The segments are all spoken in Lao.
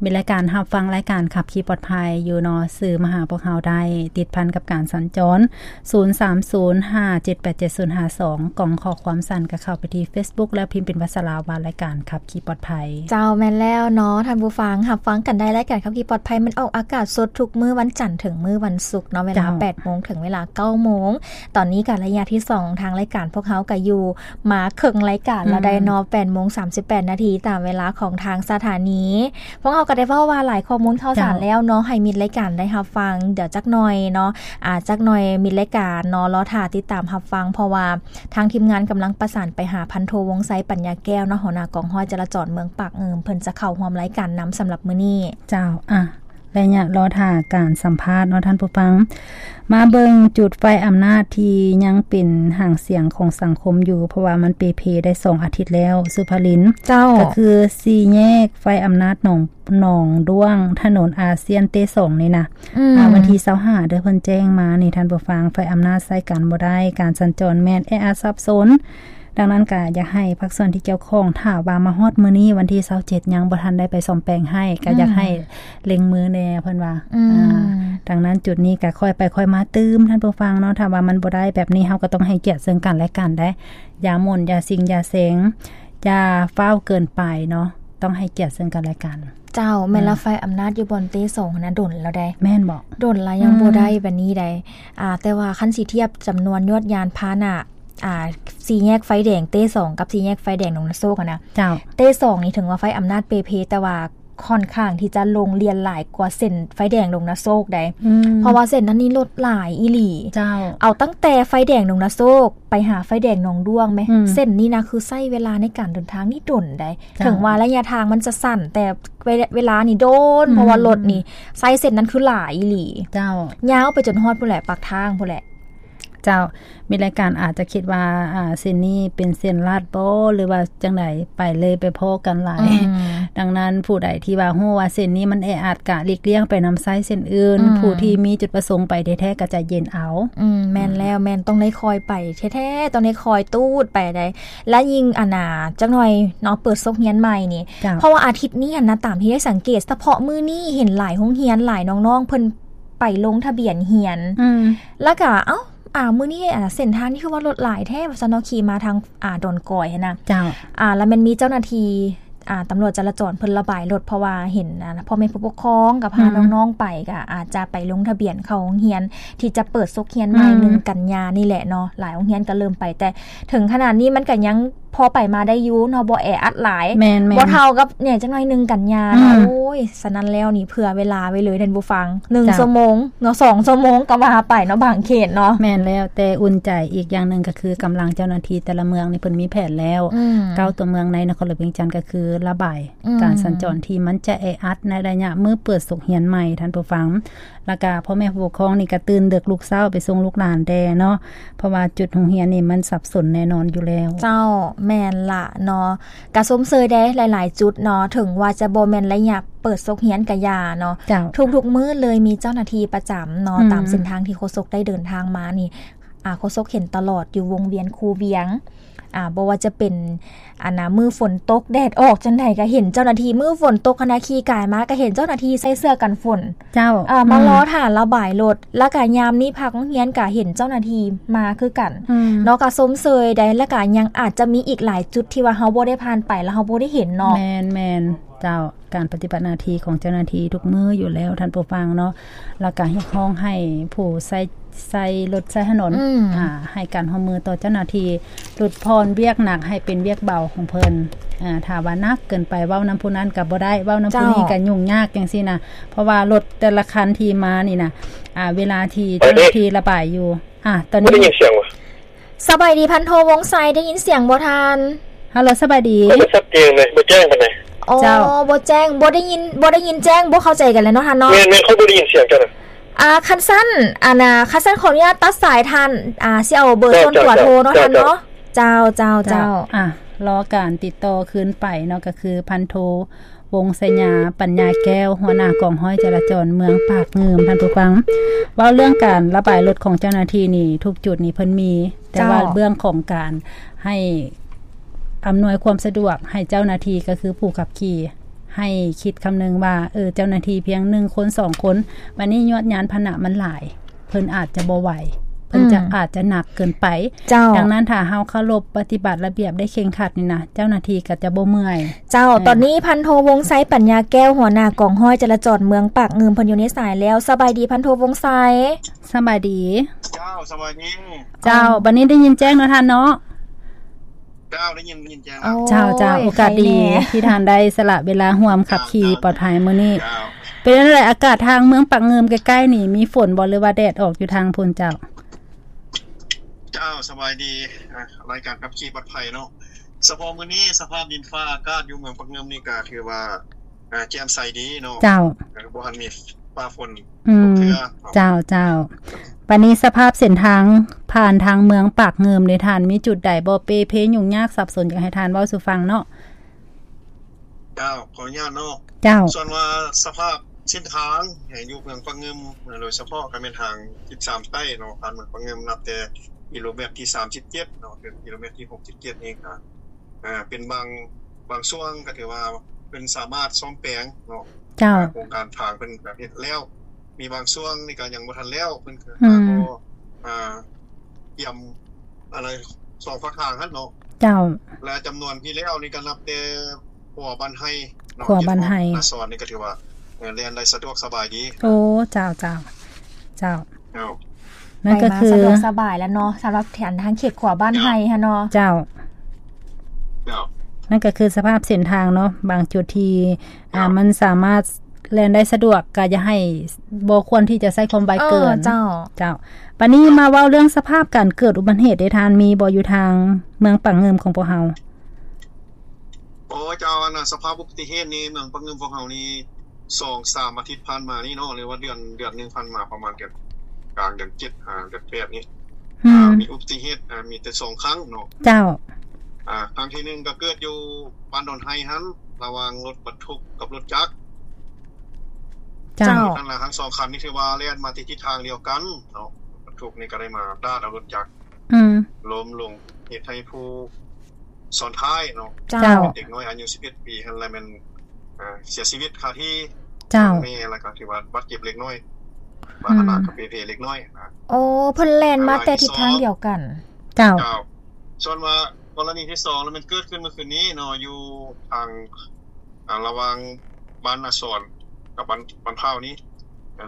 ມີລາຍການຮັບຟັງລາຍການຂັບຂີ່ປອດໄພຢູ່ເນາະ, ສື່ມາຫາພວກເຮົາໄດ້, ຕິດພັນກັບການສັນຈອນ ສູນສາມສູນຫ້າເຈັດແປດເຈັດສູນຫ້າສອງ, ກ່ອງຂໍ້ຄວາມສັ້ນກໍເຂົ້າໄປທີ່ Facebook ແລ້ວພິມເປັນພາສາລາວວ່າລາຍການຂັບຂີ່ປອດໄພ. ເຈົ້າ, ແມ່ນແລ້ວເນາະທ່ານຜູ້ຟັງ, ຮັບຟັງກັນໄດ້, ລາຍການຂັບຂີ່ປອດໄພມັນອອກອາກາດສົດທຸກມື້ວັນຈັນເຖິງມື້ວັນສຸກເນາະ, ເວລາ ເຈົ້າ ແປດໂມງເຖິງເວລາເກົ້າໂມງ. ຕອນນີ້ກໍໄລຍະທີສອງ ທາງລາຍການພວກເຮົາກໍຢູ່ມາເຄິ່ງລາຍການແລ້ວ ອືມ ໄດ໋ເນາະ, ແປດໂມງສາມສິບແປດນາທີຕາມເວລາຂອງທາງສະຖານີ. ພວກເຮົາກໍໄດ້ເວົ້າວ່າຫຼາຍຂໍ້ມູນຂ່າວສານ ເຈົ້າ ແລ້ວເນາະ, ໃຫ້ມິດລາຍການໄດ້ຮັບຟັງ. ດຽວຈັກໜ່ອຍເນາະ, ອາ ຈັກໜ່ອຍມິດລາຍການເນາະ ລໍຖ້າຕິດຕາມຮັບຟັງ, ເພາະວ່າທາງທີມງານກຳລັງປະສານໄປຫາພັນໂທ ວົງໄຊ ປັນຍາແກ້ວເນາະ, ຫົວໜ້າກອງຮ້ອຍຈະລາຈອນເມືອງປາກງື່ມ, ເພິ່ນຈະເຂົ້າຮ່ວມລາຍການນຳສຳລັບມື້ນີ້. ເຈົ້າ, ອາ ໄລຍະລໍຖ້າການສຳພາດເນາະທ່ານຜູ້ຟັງ, ມາເບິ່ງຈຸດໄຟອຳນາດທີ່ຍັງເປັນຫາງສຽງຂອງສັງຄົມຢູ່, ເພາະວ່າມັນເປເພໄດ້ສອງອາທິດແລ້ວ, ສຸພາລິນ. ເຈົ້າ. ກໍຄືສີ່ແຍກໄຟອຳນາດໜອງ ໜອງດ້ວງ, ຖະໜົນອາຊຽນເຕສອງນີ້ນະ. ອືມ. ອາ ວັນທີຊາວຫ້າເດີ, ເພິ່ນແຈ້ງມານີ້ທ່ານຜູ້ຟັງ, ໄຟອຳນາດໃຊ້ການບໍ່ໄດ້, ການສັນຈອນແມ່ນແອອັດສັບສົນ. ດັ່ງນັ້ນກໍຢາກໃຫ້ພາກສ່ວນທີ່ກ່ຽວຂ້ອງ, ຖ້າວ່າມາຮອດມື້ນີ້ວັນທີຊາວເຈັດຍັງບໍ່ທັນໄດ້ໄປສ້ອມແປງໃຫ້, ກໍຢາກໃຫ້ ອືມ ເລັ່ງມືແດ່ເພິ່ນວ່າ. ອືມ. ອາ ດັ່ງນັ້ນຈຸດນີ້ກໍຄ່ອຍໄປຄ່ອຍມາຕື່ມທ່ານຜູ້ຟັງເນາະ, ຖ້າວ່າມັນບໍ່ໄດ້ແບບນີ້ ເຮົາກໍຕ້ອງໃຫ້ກຽດເຊິ່ງກັນແລະກັນໄດ໋, ຢ່າໝົ່ນ ຢ່າຊິງ ຢ່າເສັງ, ຢ່າຟ້າວເກີນໄປເນາະ, ຕ້ອງໃຫ້ກຽດເຊິ່ງກັນແລະກັນ. ເຈົ້າ, ແມ່ນລະ. ອືມ. ໄຟອຳນາດຢູ່ບ່ອນເຕສອງຫັ້ນນະ ດົນແລ້ວໃດ໋. ແມ່ນບໍ່? ດົນລະ ອືມ ຍັງບໍ່ໄດ້ປານນີ້ໃດ໋. ອາ ແຕ່ວ່າຄັນຊິທຽບຈຳນວນຍອດຍານພາຫະນະ, ອາ ສີ່ແຍກໄຟແດງເຕສອງກັບສີ່ແຍກໄຟແດງດົງນາໂຊກຫັ້ນນະ. ເຈົ້າ. ເຕສອງນີ້ເຖິງວ່າໄຟອຳນາດເປເພ, ແຕ່ວ່າຄ່ອນຂ້າງທີ່ຈະລົງລຽນຫຼາຍກວ່າເສັ້ນໄຟແດງດົງນາໂຊກໃດ໋. ອືມ. ເພາະວ່າເສັ້ນນັ້ນນີ້ລົດຫຼາຍອີ່ຫຼີ. ເຈົ້າ. ເອົາຕັ້ງແຕ່ໄຟແດງດົງນາໂຊກໄປຫາໄຟແດງໜອງດ້ວງແມ, ອືມ ເສັ້ນນີ້ນະ ຄືໃຊ້ເວລາໃນການເດີນທາງນີ້ດົນໃດ໋. ເຈົ້າ. ເຖິງວ່າໄລຍະທາງມັນຈະສັ້ນ, ແຕ່ເວ ເວລານີ້ດົນ, ອືມ ເພາະວ່າລົດນີ້ໃຊ້ເສັ້ນນັ້ນຄືຫຼາຍອີ່ຫຼີ. ເຈົ້າ. ຍາວໄປຈົນຮອດພຸ້ນແຫຼະ, ປາກທາງພຸ້ນແຫຼະ. ເຈົ້າ, ມີລາຍການອາດຈະຄິດວ່າ ອາ ເສັ້ນນີ້ເປັນເສັ້ນລັດບໍ ຫຼືວ່າຈັ່ງໃດ, ໄປເລີຍໄປພໍ້ກັນຫຼາຍ. ອືມ. ດັ່ງນັ້ນ ຜູ້ໃດທີ່ວ່າຮູ້ວ່າເສັ້ນນີ້ມັນແອອັດ ກະຫຼີກລ່ຽງໄປນຳໃຊ້ເສັ້ນອື່ນ, ອືມ ຜູ້ທີ່ມີຈຸດປະສົງໄປແທ້ໆ ກໍໃຈເຢັນເອົາ. ອືມ ແມ່ນແລ້ວ, ແມ່ນ ຕ້ອງໄດ້ຄ່ອຍໄປແທ້ໆ, ຕ້ອງໄດ້ຄ່ອຍຕູດໄປໃດ໋. ແລະ ຍິ່ງ ອັນນ່າ ຈັກໜ່ອຍເນາະ, ເປີດສົກຮຽນໃໝ່ນີ້. ເຈົ້າ. ເພາະວ່າອາທິດນີ້ຫັ້ນນະ, ຕາມທີ່ໄດ້ສັງເກດ, ສະເພາະມື້ນີ້ເຫັນຫຼາຍໂຮງຮຽນ, ຫຼາຍນ້ອງໆ ເພິ່ນໄປລົງທະບຽນຮຽນ. ອືມ. ແລ້ວກະ ເອົ້າ ອາ ມື້ນີ້ ອາ ເສັ້ນທາງນີ້ຄືວ່າລົດຫຼາຍແທ້ ວ່າຊັ້ນເນາະ, ຂີ່ມາທາງ ອາ ດອນກອຍຫັ້ນນະ. ເຈົ້າ. ອາ ລະແມ່ນມີເຈົ້າໜ້າທີ່ ອາ ຕຳຫຼວດຈະລາຈອນເພິ່ນລະບາຍລົດ, ເພາະວ່າເຫັນ ອາ ພໍ່ແມ່ຜູ້ປົກຄອງກັບພາ ອືມ ນ້ອງໆໄປ ກະອາດຈະໄປລົງທະບຽນເຂົ້າໂຮງຮຽນທີ່ຈະເປີດສົກຮຽນໃໝ່ ອືມ ໜຶ່ງກັນຍານີ້ແຫຼະເນາະ. ຫຼາຍໂຮງຮຽນກະເລີ່ມໄປ, ແຕ່ເຖິງຂະໜາດນີ້ມັນກະຍັງພໍໄປມາໄດ້ຢູ່ເນາະ, ບໍ່ແອອັດຫຼາຍ. ແມ່ນໆ. ບໍ່ເທົ່າກັບແດ່ຈັກໜ້ອຍໜຶ່ງກັນຍາ ອືມ ເນາະ. ໂອ້ຍ ສະນັ້ນແລ້ວນີ້ ເຜື່ອເວລາໄວ້ເລີຍທ່ານຜູ້ຟັງ, ໜຶ່ງ ເຈົ້າ ຊົ່ວໂມງເນາະ, ສອງຊົ່ວໂມງກໍວ່າໄປເນາະ, ບາງເຂດເນາະ. ແມ່ນແລ້ວ, ແຕ່ອຸ່ນໃຈອີກຢ່າງໜຶ່ງກໍຄືກຳລັງເຈົ້າໜ້າທີ່ແຕ່ລະເມືອງນີ້ເພິ່ນມີແຜນແລ້ວ, ອືມ ເກົ້າຕົວເມືອງໃນນະຄອນຫຼວງວຽງຈັນກໍຄືລະບາຍ ອືມ ການສັນຈອນທີ່ມັນຈະແອອັດໃນໄລຍະມື້ເປີດສົກຮຽນໃໝ່ທ່ານຜູ້ຟັງ. ແລ້ວກະພໍ່ແມ່ຜູ້ປົກຄອງນີ້ກະຕື່ນເດິກລຸກເຊົ້າໄປສົ່ງລູກຫຼານແດ່ເນາະ, ເພາະວ່າຈຸດໂຮງຮຽນນີ້ມັນສັບສົນແນ່ນອນຢູ່ແລ້ວ. ເຈົ້າ, ແມ່ນລະເນາະ. ກະຊົມເຊີຍເດ້ ຫຼາຍໆຈຸດເນາະ, ເຖິງວ່າຈະບໍ່ແມ່ນໄລຍະເປີດສົກຮຽນກະຢ່າເນາະ, ເຈົ້າ ທຸກໆມື້ເລີຍມີເຈົ້າໜ້າທີ່ປະຈຳເນາະ, ອືມ ຕາມເສັ້ນທາງທີ່ໂຄສົກໄດ້ເດີນທາງມານີ້ ອາ ໂຄສົກເຫັນຕະຫຼອດຢູ່ວົງວຽນຄູວຽງ, ອາ ບໍ່ວ່າຈະເປັນ ອັນນ່າ ມື້ຝົນຕົກແດດອອກຈັ່ງໃດກະເຫັນເຈົ້າໜ້າທີ່, ມື້ຝົນຕົກຫັ້ນນະ ຂີ່ກາຍມາກະເຫັນເຈົ້າໜ້າທີ່ໃສ່ເສື້ອກັນຝົນ. ເຈົ້າ. ເອີ ມາ ອືມ ລໍຖ້າລະບາຍລົດ, ແລ້ວກະຍາມນີ້ພັກໂຮງຮຽນກະເຫັນເຈົ້າໜ້າທີ່ມາຄືກັນ ອືມ ເນາະ, ກະຊົມເຊີຍໄດ໋. ແລ້ວກະຍັງອາດຈະມີອີກຫຼາຍຈຸດທີ່ວ່າເຮົາບໍ່ໄດ້ຜ່ານໄປ ແລ້ວເຮົາບໍ່ໄດ້ເຫັນເນາະ. ແມ່ນໆ ເຈົ້າ. ການປະຕິບັດໜ້າທີ່ຂອງເຈົ້າໜ້າທີ່ທຸກມື້ຢູ່ແລ້ວທ່ານຜູ້ຟັງເນາະ, ແລ້ວກະຮຽກຮ້ອງໃຫ້ຜູ້ໃຊ້ ໃຊ້ລົດໃຊ້ຖະໜົນ ອືມ ອາ ໃຫ້ການຮ່ວມມືຕໍ່ເຈົ້າໜ້າທີ່, ຫຼຸດຜ່ອນວຽກໜັກໃຫ້ເປັນວຽກເບົາຂອງເພິ່ນ. ອາ ຖ້າວ່າໜັກເກີນໄປ ເວົ້ານຳຜູ້ນັ້ນກໍບໍ່ໄດ້, ເວົ້ານຳຜູ້ນີ້ ເຈົ້າ ກໍຫຍຸ້ງຍາກຈັ່ງຊີ້ນະ, ເພາະວ່າລົດແຕ່ລະຄັນທີ່ມານີ້ນະ ອາ ເວລາທີ່ເຈົ້າໜ້າທີ່ລະບາຍຢູ່. ອາ ຕອນນີ້ບໍ່ໄດ້ຍິນສຽງຫວາ? ສະບາຍດີພັນໂທ ວົງໄຊ, ໄດ້ຍິນສຽງບໍ່ທ່ານ? ຮັລໂຫຼ ສະບາຍດີ. ກໍບໍ່ຊັດເຈນເລີຍ, ບໍ່ແຈ້ງປານໃດ. ອໍ ເຈົ້າ ບໍ່ແຈ້ງ, ບໍ່ໄດ້ຍິນ, ບໍ່ໄດ້ຍິນແຈ້ງ, ບໍ່ເຂົ້າໃຈກັນແລ້ວເນາະທ່ານເນາະ. ແມ່ນໆ, ເຂົາບໍ່ໄດ້ຍິນສຽງເຈົ້ານະ. ອາ ຄັນຊັ້ນ ອັນນ່າ ຄັນຊັ້ນຂໍອະນຸຍາດຕັດສາຍທ່ານ, ອາ ຊິເອົາເບີ ເຈົ້າ ສ່ວນຕົວໂທເນາະ ເຈົ້າ ທ່ານເນາະ. ເຈົ້າ ເຈົ້າ ເຈົ້າ ເຈົ້າ ເຈົ້າ. ອາ ລໍການຕິດຕໍ່ຄືນໄປເນາະ, ກໍຄືພັນໂທ ວົງໄຊຍາ ປັນຍາແກ້ວ, ຫົວໜ້າກອງຮ້ອຍຈະລາຈອນເມືອງປາກງື່ມ. ທ່ານຜູ້ຟັງ, ເວົ້າເລື່ອງການລະບາຍລົດຂອງເຈົ້າໜ້າທີ່ນີ້ ທຸກຈຸດນີ້ເພິ່ນມີ, ແຕ່ວ່າ ເຈົ້າ ເລື່ອງຂອງການໃຫ້ອຳນວຍຄວາມສະດວກໃຫ້ເຈົ້າໜ້າທີ່ ກໍຄືຜູ້ຂັບຂີ່ ໃຫ້ຄິດຄຳນຶງວ່າ ເອີ ເຈົ້າໜ້າທີ່ພຽງໜຶ່ງຄົນ ສອງຄົນ ບັດນີ້ຍວດຍານພາຫະນະມັນຫຼາຍ ເພິ່ນອາດຈະບໍ່ໄຫວ ເພິ່ນຈະ ອືມ ອາດຈະໜັກເກີນໄປ. ເຈົ້າ. ດັ່ງນັ້ນ ຖ້າເຮົາເຄົາລົບປະຕິບັດລະບຽບໄດ້ເຄັ່ງຄັດນີ້ນະ ເຈົ້າໜ້າທີ່ກໍຈະບໍ່ເມື່ອຍ. ເຈົ້າ. ເອີ ຕອນນີ້ພັນໂທ ວົງໄຊ ປັນຍາແກ້ວ ຫົວໜ້າກອງຮ້ອຍຈະລາຈອນເມືອງປາກງື່ມ ເພິ່ນຢູ່ໃນສາຍແລ້ວ. ສະບາຍດີ ພັນໂທ ວົງໄຊ. ສະບາຍດີ. ເຈົ້າ ສະບາຍດີ. ເຈົ້າ. ເອີ ບັດນີ້ໄດ້ຍິນແຈ້ງເນາະທ່ານເນາະ? ເຈົ້າ ໄດ້ຍິນ ໄດ້ຍິນແຈ້ງ. ໂອ້ຍ ເຈົ້າ ເຈົ້າ ໂອກາດດີ ໄຄແດ່ ທີ່ທ່ານໄດ້ສະຫຼະເວລາຮ່ວມຂັບຂີ່ ເຈົ້າ ເຈົ້າ ປອດໄພມື້ນີ້. ເຈົ້າ. ເປັນຈັ່ງໃດ ອາກາດທາງເມືອງປາກງື່ມໃກ້ໆນີ້ ມີຝົນບໍ່ ຫຼືວ່າແດດອອກຢູ່ທາງພຸ້ນເຈົ້າ? ເຈົ້າ ສະບາຍດີ ອ່າ ລາຍການຂັບຂີ່ປອດໄພເນາະ. ສະເພາະມື້ນີ້ ສະພາບດິນຟ້າອາກາດຢູ່ເມືອງປາກງື່ມນີ້ກໍຖືວ່າ ອ່າ ແຈ່ມໃສດີເນາະ. ເຈົ້າ. ເອີ ບໍ່ທັນມີຟ້າຝົນ ອືມ ຕົກເທື່ອ. ເຈົ້າ ເຈົ້າ. ບັດນີ້ສະພາບເສັ້ນທາງຜ່ານທາງເມືອງປາກງື່ມເດ ທ່ານມີຈຸດໃດບໍ່ເປ່ເພຫຍຸ້ງຍາກສັບສົນ ຢາກໃຫ້ທ່ານເວົ້າສູ່ຟັງເນາະ? ເຈົ້າ ຂໍອະນຸຍາດເນາະ. ເຈົ້າ. ສ່ວນວ່າສະພາບເສັ້ນທາງໃຫ້ຢູ່ເມືອງປາກງື່ມ ໂດຍສະເພາະກໍແມ່ນທາງສິບສາມໃຕ້ເນາະ ຜ່ານເມືອງປາກງື່ມ ນັບແຕ່ກິໂລແມັດທີສາມສິບເຈັດເນາະ ເຖິງກິໂລແມັດທີຫົກສິບເຈັດນີ້ກໍ ອ່າ ເປັນບາງ ບາງຊ່ວງກໍຖືວ່າເພິ່ນສາມາດສ້ອມແປງເນາະ. ເຈົ້າ. ໂຄງການທາງເພິ່ນກໍເຮັດແລ້ວ ມີບາງຊ່ວງນີ້ກໍຍັງບໍ່ທັນແລ້ວ ເພິ່ນກໍ ອືມ ກໍ ອ່າ ກຽມ ອັນໃດ ສອງພາກທາງຫັ້ນເນາະ. ເຈົ້າ. ແລະ ຈຳນວນທີ່ແລ້ວນີ້ກໍນັບແຕ່ຂົວບ້ານໄຮ່ເນາະ ຂົວບ້ານໄຮ່ ນາສອນນີ້ກໍຖືວ່າ ເອີ ແລ່ນໄດ້ສະດວກສະບາຍດີ. ໂອ້ ເຈົ້າ ເຈົ້າ ເຈົ້າ. ເຈົ້າ. ນັ້ນກໍຄື ໄປມາສະດວກສະບາຍແລ້ວເນາະ ສຳລັບແຖວທາງເຂດຂົວບ້ານໄຮ່ຫັ້ນເນາະ. ເຈົ້າ. ເຈົ້າ. ນັ້ນກໍຄືສະພາບເສັ້ນທາງເນາະ ບາງຈຸດທີ່ ເຈົ້າ ອ່າ ມັນສາມາດແລ່ນໄດ້ສະດວກ ກໍຢ່າໃຫ້ ບໍ່ຄວນທີ່ຈະໃຊ້ຄວາມໄວເກີນ. ເອີ ເຈົ້າ. ເຈົ້າ. ບັດນີ້ມາເວົ້າເລື່ອງສະພາບການເກີດອຸບັດເຫດເດ ທ່ານມີບໍ່ ຢູ່ທາງເມືອງປາກງື່ມຂອງພວກເຮົາ? ໂອ້ ເຈົ້າ ອັນນ່າ ສະພາບອຸບັດຕິເຫດນີ້ ເມືອງປາກງື່ມພວກເຮົານີ້ ສອງສາມອາທິດຜ່ານມານີ້ເນາະ ຫຼືວ່າເດືອນ ເດືອນໜຶ່ງຜ່ານມາ ປະມານເດືອນ ກາງເດືອນເຈັດ ຫາເດືອນແປດນີ້ ອືມ ອ່າ ມີອຸບັດຕິເຫດ ອ່າ ມີແຕ່ສອງຄັ້ງເນາະ. ເຈົ້າ. ອ່າ ຄັ້ງທີໜຶ່ງກໍເກີດຢູ່ບ້ານດອນໄຮຫັ້ນ ລະຫວ່າງລົດບັນທຸກກັບລົດຈັກ. ເຈົ້າ. ເຈົ້າ. ທັງສອງຄັນນີ້ຖືວ່າແລ່ນມາທີ່ທິດທາງດຽວກັນເນາະ ລົດບັນທຸກນີ້ກໍໄດ້ມາດາດເອົາລົດຈັກ ອືມ ລົ້ມລົງ ເຮັດໃຫ້ຜູ້ຊ້ອນທ້າຍເນາະ ເຈົ້າ ເປັນເດັກນ້ອຍອາຍຸສິບເອັດປີຫັ້ນແຫຼະ ແມ່ນ ອ່າ ເສຍຊີວິດຄາທີ່. ເຈົ້າ. ແມ່ ແລ້ວກໍຖືວ່າບາດເຈັບເລັກນ້ອຍ ອືມ ບາດຂະໜາດກໍເປ່ເພເລັກນ້ອຍນະ. ໂອ້ ເພິ່ນແລ່ນມາແຕ່ທິດທາງດຽວກັນ. ເຈົ້າ. ເຈົ້າ. ສ່ວນວ່າກໍລະນີທີສອງ ແລ້ວແມ່ນເກີດຂຶ້ນເມື່ອຄືນນີ້ເນາະ ຢູ່ທາງ ອ່າ ລະຫວ່າງບ້ານນາສອນກັບບ້ານ ບ້ານພ້າວນີ້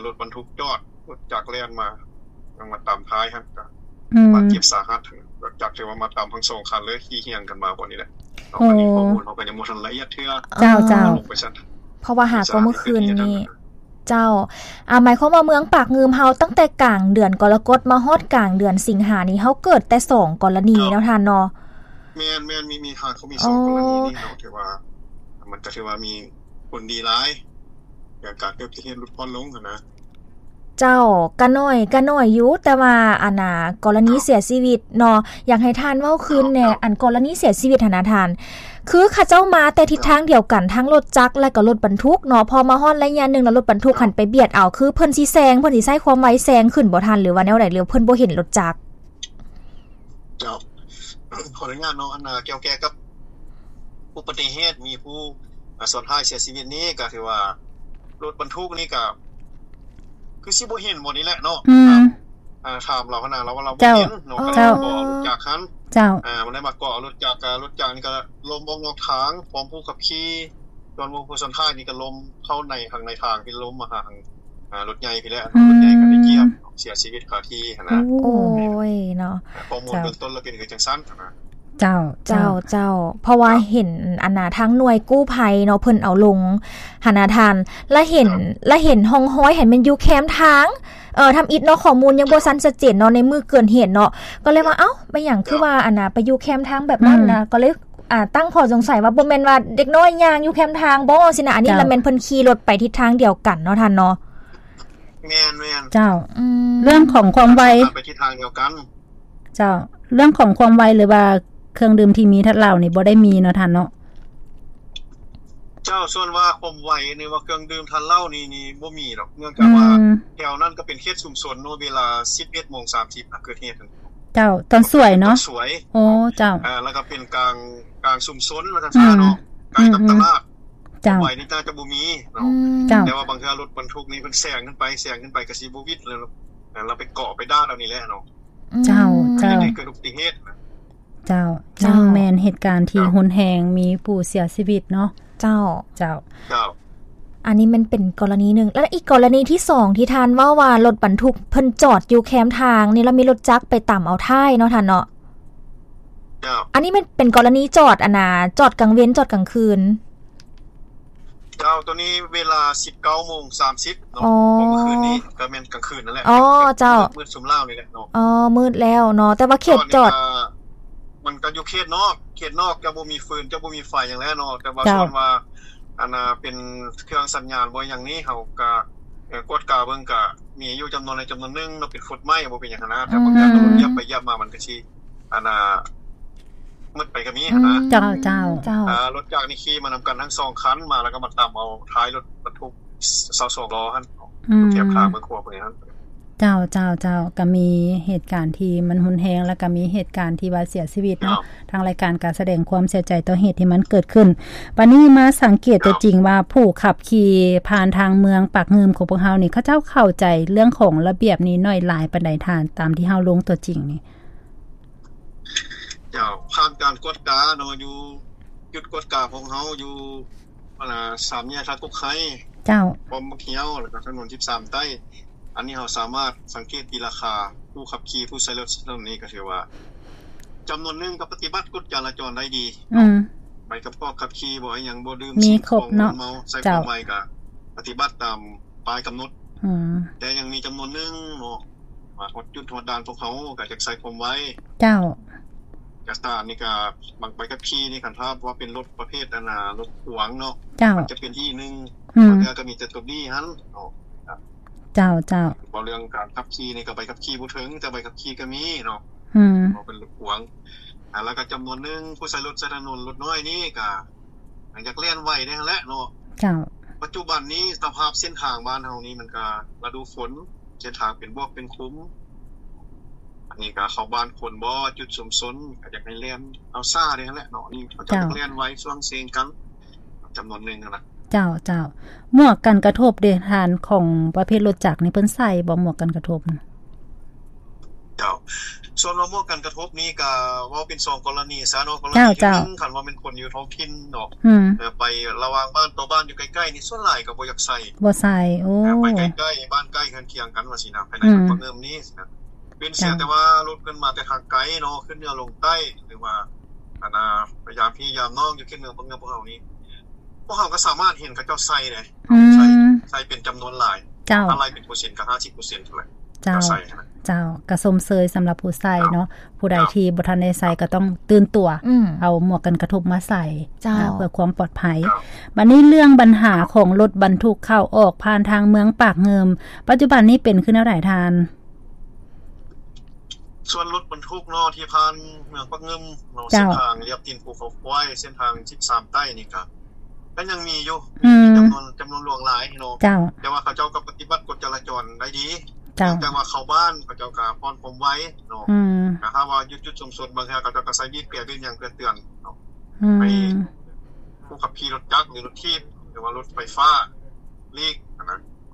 ລົດບັນທຸກຈອດ ລົດຈັກແລ່ນມາ ຍັງມາຕາມທ້າຍຫັ້ນ ກໍ ອືມ ບາດເຈັບສາຫັດ. ລົດຈັກຖືວ່າມາຕາມທັງສອງຄັນເລີຍ ຂີ່ຮຽງກັນມາບ່ອນນີ້ແຫຼະເນາະ. ໂອ້ ອັນນີ້ຂໍ້ມູນເຮົາກໍຍັງບໍ່ທັນລະອຽດເທື່ອ. ເຈົ້າ ເຈົ້າ. ເພາະວ່າຫາກໍມື້ຄືນນີ້. ເຈົ້າ. ອ່າ ໝາຍຄວາມວ່າເມືອງປາກງື່ມເຮົາ ຕັ້ງແຕ່ກາງເດືອນກໍລະກົດມາຮອດກາງເດືອນສິງຫານີ້ ເຮົາເກີດແຕ່ສອງກໍລະນີເນາະທ່ານເນາະ. ແມ່ນໆ ມີ ມີ ຫາກໍມີສອງກໍລະນີນີ້ເນາະ ຖືວ່າ ມັນກໍຖືວ່າມີຜົນດີຫຼາຍ ການເກີດອຸບັດຕິເຫດຫຼຸດຜ່ອນລົງຫັ້ນນະ. ເຈົ້າ. ກະໜ້ອຍ ກະໜ້ອຍຢູ່ ແຕ່ວ່າ ອັນນ່າ ກໍລະນີເສຍຊີວິດເນາະ ຢາກໃຫ້ທ່ານເວົ້າຄືນແດ່. ເຈົ້າ. ອັນກໍລະນີເສຍຊີວິດຫັ້ນນະທ່ານ ຄືເຂົາເຈົ້າມາແຕ່ທິດທາງດຽວກັນ ທັງລົດຈັກ ແລະກໍລົດບັນທຸກເນາະ ພໍມາຮອດໄລຍະໜຶ່ງແລ້ວ ລົດບັນທຸກຫັ້ນໄປບຽດເອົາ ຄືເພິ່ນຊິແຊງ ເພິ່ນຊິໃຊ້ຄວາມໄວແຊງຂຶ້ນບໍ່ທ່ານ ຫຼືວ່າແນວໃດ ຫຼືເພິ່ນບໍ່ເຫັນລົດຈັກ? ເຈົ້າ. ຂໍອະນຸຍາດເນາະ ອັນນ່າ ກ່ຽວແກ່ກັບອຸບັດຕິເຫດ ມີຜູ້ ອ່າ ຊ້ອນທ້າຍເສຍຊີວິດນີ້ ກໍຖືວ່າລົດບັນທຸກນີ້ກໍຄືຊິບໍ່ເຫັນໝົດນີ້ແຫຼະເນາະ. ອືມ. ອ່າ ຖາມລາວຫັ້ນນະ ລາວວ່າລາວບໍ່ເຫັນເນາະ. ເຈົ້າ. ກໍເລີຍມາເກາະເອົາລົດຈັກຫັ້ນ. ເຈົ້າ. ອ່າ ມັນໄດ້ມາເກາະເອົາລົດຈັກ ອ່າ ລົດຈັກນີ້ກໍລົ້ມອອກນອກທາງ ພ້ອມຜູ້ຂັບຂີ່ ສ່ວນຜູ້ ຜູ້ຊ້ອນທ້າຍນີ້ກໍລົ້ມເຂົ້າໃນ ທາງໃນທາງ ທີ່ລົ້ມມາຫາທາງ ອ່າ ລົດໃຫຍ່ພີ້ແຫຼະ. ອືມ. ລົດໃຫຍ່ກໍໄດ້ກຽບເນາະ ເສຍຊີວິດຄາທີ່ຫັ້ນນະ. ໂອ້ຍເນາະ. ຂໍ້ມູນເບື້ອງຕົ້ນລະເປັນຄືຈັ່ງຊັ້ນຫັ້ນນະ. ເຈົ້າ ເຈົ້າ ເຈົ້າ ເຈົ້າ. ເພາະວ່າເຫັນ ອັນນ່າ ທາງໜ່ວຍກູ້ໄພເນາະ ເພິ່ນເອົາລົງຫັ້ນນະທ່ານ ລະເຫັນ ລະເຫັນຮ່ອງຮອຍຫັ້ນແມ່ນຢູ່ແຄມທາງ ເອີ ທຳອິດເນາະ ຂໍ້ມູນຍັງບໍ່ທັນຊັດເຈນເນາະ ໃນມື້ເກີດເຫດເນາະ ກໍເລີຍວ່າ ເອົ້າ ແມ່ນຫຍັງຄືວ່າ ອັນນ່າ ໄປຢູ່ແຄມທາງແບບນັ້ນນະ ອືມ ກໍເລີຍ ອ່າ ຕັ້ງຂໍ້ສົງໄສວ່າ ບໍ່ແມ່ນວ່າເດັກນ້ອຍຍ່າງຢູ່ແຄມທາງບໍ່ຊີ້ນະ ອັນນີ້ລະແມ່ນເພິ່ນຂີ່ລົດໄປທິດທາງດຽວກັນເນາະທ່ານເນາະ. ແມ່ນໆ. ເຈົ້າ. ອືມ. ເລື່ອງຂອງຄວາມໄວ ໄປທິດທາງດຽວກັນ. ເຈົ້າ. ເລື່ອງຂອງຄວາມໄວ ຫຼືວ່າເຄື່ອງດື່ມທີ່ມີທາດເຫຼົ້ານີ້ບໍ່ໄດ້ມີເນາະທ່ານເນາະ? ເຈົ້າ. ສ່ວນວ່າຄວາມໄວ ຫຼືວ່າເຄື່ອງດື່ມທາດເຫຼົ້ານີ້ ນີ້ບໍ່ມີດອກ ເນື່ອງຈາກວ່າ ອືມ ແຖວນັ້ນກໍເປັນເຂດຊຸມຊົນເນາະ ເວລາສິບເອັດໂມງສາມສິບ ເກີດເຫດ. ເຈົ້າ. ຕອນສວຍເນາະ? ຕອນສວຍ. ໂອ້ ເຈົ້າ. ອ່າ ແລ້ວກໍເປັນກາງ ກາງຊຸມຊົນວ່າຊັ້ນຊະເນາະ ອືມ ໃກ້ກັບຕະຫຼາດ. ເຈົ້າ ຄວາມໄວນີ້ໜ້າຈະບໍ່ມີເນາະ ອືມ ເຈົ້າ ແຕ່ວ່າບາງເທື່ອລົດບັນທຸກນີ້ເພິ່ນແຊງຂຶ້ນໄປ ແຊງຂຶ້ນໄປກໍຊິບໍ່ຫວິດ ແລ້ວ ແລ້ວໄປເກາະໄປດາດເອົານີ້ແຫຼະເນາະ ເຈົ້າ ອືມ ເຈົ້າ ເຮັດໃຫ້ເກີດອຸບັດຕິເຫດ ເຈົ້າ ເຈົ້າ ຍັງແມ່ນເຫດການທີ່ ເຈົ້າ ຮຸນແຮງ ມີຜູ້ເສຍຊີວິດເນາະ ເຈົ້າ ເຈົ້າ ເຈົ້າ ອັນນີ້ມັນເປັນກໍລະນີໜຶ່ງ ແລ້ວອີກກໍລະນີທີສອງທີ່ທ່ານເວົ້າວ່າລົດບັນທຸກເພິ່ນຈອດຢູ່ແຄມທາງນີ້ ແລ້ວມີລົດຈັກໄປຕຳເອົາທ້າຍເນາະທ່ານເນາະ ເຈົ້າ ອັນນີ້ມັນເປັນກໍລະນີຈອດ ອັນນ່າ ຈອດກາງເວັນ ຈອດກາງຄືນ ເຈົ້າ ໂຕນີ້ເວລາສິບເກົ້າໂມງສາມສິບເນາະ ອໍ ຂອງມື້ຄືນນີ້ ກໍແມ່ນກາງຄືນນັ້ນແຫຼະ ອໍ ເຈົ້າ ມືດ ມືດຊຸມລາວນີ້ແຫຼະເນາະ ອໍ ມືດແລ້ວເນາະ ແຕ່ວ່າເຂດຈອດ ມັນກໍຢູ່ເຂດນອກ ເຂດນອກຈະບໍ່ມີຟືນ ຈະບໍ່ມີໄຟຫຍັງແຫຼະເນາະ ແຕ່ວ່າ ເຈົ້າ ສ່ວນວ່າ ອັນນ່າ ເປັນເຄື່ອງສັນຍານບໍ່ຫຍັງນີ້ ເຮົາກໍ ເອີ ກວດກາເບິ່ງ ກໍມີຢູ່ຈຳນວນໃດຈຳນວນໜຶ່ງເນາະ ເປັນຟຸດໃໝ່ ບໍ່ເປັນຫຍັງຫັ້ນນະ ແຕ່ບາງຢ່າງ ອືມ ລົດຢຽບໄປຢຽບມາ ມັນກໍຊິ ອັນນ່າ ໝົດໄປກໍມີຫັ້ນນະ ອືມ ເຈົ້າ ເຈົ້າ ເຈົ້າ ອ່າ ລົດຈັກນີ້ຂີ່ມານຳກັນທັງສອງຄັນ ມາແລ້ວກໍມາຕຳເອົາທ້າຍລົດບັນທຸກຊາວສອງລໍ້ຫັ້ນ ອືມ ຢູ່ແຄມທາງເມືອງຂວາພຸ້ນຫັ້ນ ເຈົ້າ ເຈົ້າ ເຈົ້າ ກໍມີເຫດການທີ່ມັນຮຸນແຮງ ແລ້ວກໍມີເຫດການທີ່ວ່າເສຍຊີວິດເນາະ ເຈົ້າ ທາງລາຍການກໍສະແດງຄວາມເສຍໃຈຕໍ່ເຫດທີ່ມັນເກີດຂຶ້ນ ບາດນີ້ມາສັງເກດຕົວຈິງວ່າ ເຈົ້າ ຜູ້ຂັບຂີ່ຜ່ານທາງເມືອງປາກງື່ມຂອງພວກເຮົານີ້ ເຂົາເຈົ້າເຂົ້າໃຈເລື່ອງຂອງລະບຽບນີ້ໜ້ອຍຫຼາຍປານໃດທ່ານ ຕາມທີ່ເຮົາລົງຕົວຈິງນີ້? ເຈົ້າ ຜ່ານການກວດກາເນາະ ຢູ່ຈຸດກວດກາຂອງເຮົາຢູ່ ອັນນ່າ ສາມແຍກທ່າກົກໄຮ ເຈົ້າ ປ້ອມບັກຮຽວ ແລ້ວກໍຖະໜົນສິບສາມໃຕ້ ອັນນີ້ເຮົາສາມາດສັງເກດຕີລາຄາຜູ້ຂັບຂີ່ ຜູ້ໃຊ້ລົດໃຊ້ຖະໜົນນີ້ ກໍຖືວ່າຈຳນວນໜຶ່ງກໍປະຕິບັດກົດຈະລາຈອນໄດ້ດີ ອືມ ໃບປະກອບຂັບຂີ່ບໍ່ ອີ່ຫຍັງບໍ່ ດື່ມສິ່ງຂອງມຶນເມົາ ໃຊ້ຄວາມໄວກໍປະຕິບັດຕາມປ້າຍກຳນົດ ອືມ ແຕ່ຍັງມີຈຳນວນໜຶ່ງເນາະ ມາຮອດຈຸດຮອດດ່ານພວກເຮົາກໍຢາກໃຊ້ຄວາມໄວ ເຈົ້າ ເອກະສານນີ້ກໍບາງໃບຂັບຂີ່ນີ້ ຄັນຖ້າວ່າເປັນລົດປະເພດ ອັນນ່າ ລົດຂວາງເນາະ ເຈົ້າ ມັນຈະເປັນ D ໜຶ່ງ ອືມ ບາງເທື່ອກໍມີແຕ່ຕົວ D ຫັ້ນເນາະ ເຈົ້າ ເຈົ້າ ເວົ້າເລື່ອງການຂັບຂີ່ນີ້ກໍໃບຂັບຂີ່ບໍ່ເຖິງ ແຕ່ໃບຂັບຂີ່ກໍມີເນາະ ອືມ ເວົ້າເປັນລົດຂວາງ ອ່າ ແລ້ວກໍຈຳນວນໜຶ່ງຜູ້ໃຊ້ລົດໃຊ້ຖະໜົນ ລົດນ້ອຍນີ້ກໍ ຢາກແລ່ນໄວແດ່ຫັ້ນແຫຼະເນາະ ເຈົ້າ ປັດຈຸບັນນີ້ສະພາບເສັ້ນທາງບ້ານເຮົານີ້ ມັນກະລະດູຝົນ ເສັ້ນທາງເປັນບວກເປັນຂຸມ ອັນນີ້ກະເຂົ້າບ້ານຄົນບໍ່ ຈຸດຊຸມຊົນ ກະຢາກໃຫ້ແລ່ນເອົາຊ້າແດ່ຫັ້ນແຫຼະເນາະ ນີ້ເຂົາເຈົ້າ ເຈົ້າ ຢາກແລ່ນໄວຊ່ວງເຊງກັນ ຈຳນວນໜຶ່ງຫັ້ນນະ ເຈົ້າ ເຈົ້າ ໝວກກັນກະທົບເດທ່ານ ຂອງປະເພດລົດຈັກນີ້ ເພິ່ນໃສ່ບໍ່ ໝວກກັນກະທົບ? ເຈົ້າ ສ່ວນວ່າໝວກກັນກະທົບນີ້ກະເວົ້າເປັນສອງກໍລະນີຊະເນາະ ກໍລະນີທີໜຶ່ງ ຄັນວ່າແມ່ນຄົນຢູ່ທ້ອງຖິ່ນເນາະ ອືມ ເອີ ໄປລະຫວ່າງບ້ານຕໍ່ບ້ານຢູ່ໃກ້ໆນີ້ ສ່ວນຫຼາຍກໍບໍ່ຢາກໃສ່ ບໍ່ໃສ່ ໂອ້ ເອີ ໄປໃກ້ໆ ບ້ານໃກ້ເຮືອນຄຽງກັນວ່າຊີ້ນະ ພາຍໃນເມືອງປາກງື່ມນີ້ ເປັນເສຍແຕ່ວ່າລົດເພິ່ນມາແຕ່ທາງໄກເນາະ ຂຶ້ນເໜືອລົງໃຕ້ ຫຼືວ່າ ອັນນ່າ ໄປຢາມພີ່ຢາມນ້ອງຢູ່ເຂດເມືອງປາກງື່ມພວກເຮົານີ້ ພວກເຮົາກໍສາມາດເຫັນເຂົາເຈົ້າໃສ່ເດ້ ອືມ ໃສ່ ໃສ່ເປັນຈຳນວນຫຼາຍ ເຈົ້າ ຖ້າໄລ່ເປັນເປີເຊັນກໍຫ້າສິບເປີເຊັນເທົ່ານັ້ນ ເຈົ້າ ກໍໃສ່ຫັ້ນນະ ເຈົ້າ ກໍຊົມເຊີຍສຳລັບຜູ້ໃສ່ເນາະ ເຈົ້າ ຜູ້ໃດທີ່ບໍ່ທັນໄດ້ໃສ່ກໍຕ້ອງຕື່ນຕົວ ອືມ ເອົາໝວກກັນກະທົບມາໃສ່ ເຈົ້າ ເພື່ອຄວາມປອດໄພ ເຈົ້າ ບາດນີ້ເລື່ອງບັນຫາຂອງລົດບັນທຸກເຂົ້າອອກຜ່ານທາງເມືອງປາກງື່ມ ປັດຈຸບັນນີ້ເປັນຄືແນວໃດທ່ານ? ສ່ວນລົດບັນທຸກເນາະ ທີ່ຜ່ານເມືອງປາກງື່ມເນາະ ເຈົ້າ ເສັ້ນທາງລຽບຕີນພູເຂົາຄວາຍ ເສັ້ນທາງສິບສາມໃຕ້ນີ້ກະ ກໍຍັງມີຢູ່ ອືມ ມີຈຳນວນ ຈຳນວນຫຼວງຫຼາຍເນາະ ເຈົ້າ ແຕ່ວ່າເຂົາເຈົ້າກໍປະຕິບັດກົດຈະລາຈອນໄດ້ດີ ເຈົ້າ ແຕ່ວ່າເຂົ້າບ້ານເຂົາເຈົ້າກໍຜ່ອນຄວາມໄວເນາະ ອືມ ຖ້າວ່າຢູ່ຈຸດຊຸມຊົນ ບາງເທື່ອເຂົາເຈົ້າກໍໃສ່ບີບແກບີບຫຍັງເພື່ອເຕືອນເນາະ ອືມ ໃຫ້ຜູ້ຂັບຂີ່ລົດຈັກ ຫຼື ລົດຖີບ ຫຼືວ່າລົດໄຟຟ້າຫຼີກ